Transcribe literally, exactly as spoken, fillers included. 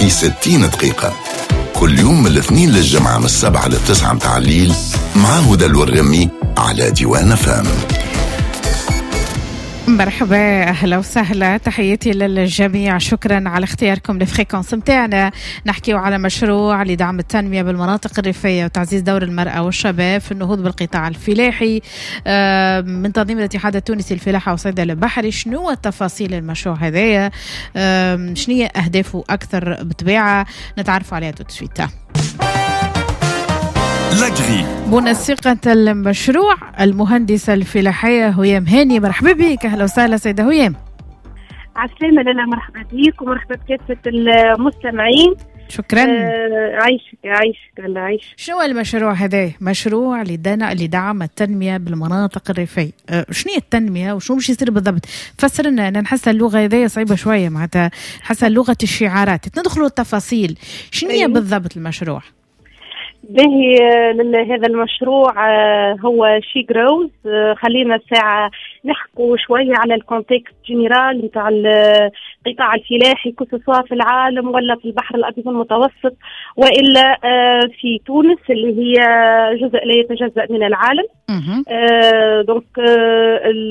في ستين دقيقة، كل يوم من الاثنين للجمعة، من السبعة للتسعة متاع الليل، مع هدى الورغمي على ديوان أف أم. مرحبا، اهلا وسهلا، تحياتي للجميع، شكرا على اختياركم ل fréquence متاعنا. نحكيو على مشروع لدعم التنمية بالمناطق الريفية وتعزيز دور المراة والشباب في النهوض بالقطاع الفلاحي آه، من تنظيم الاتحاد التونسي للفلاحه والصيد البحري. شنو تفاصيل المشروع هذايا؟ شنو هي اهدافه اكثر؟ بطبيعة نتعرفوا عليها tout de suite. L'agri. منسقة المشروع المهندسة الفلاحية هيام هاني، مرحبا بك، أهلا وسهلا سيدة هيام. عسلامة لاله، مرحبا بك ومرحبا بكافة المستمعين. شكرا. آه عايشك عايشك الله عايشك. شنو المشروع هذا؟ مشروع لدعم التنمية بالمناطق الريفية. أه شنو هي التنمية وشنو باش يصير بالضبط؟ فسر لنا، أنا نحس اللغة هذه صعيبة شوية، معناتها نحس لغة الشعارات، ندخلوا التفاصيل، شنو هي أيوه. بالضبط المشروع؟ باهي، هذا المشروع آه، هو She Grows. آه، خلينا ساعة نحكوا شوية على ال contexte général نتاع القطاع الفلاحي، que ce soit في العالم ولا في البحر الأبيض المتوسط وإلا آه، في تونس اللي هي جزء لا يتجزأ من العالم. donc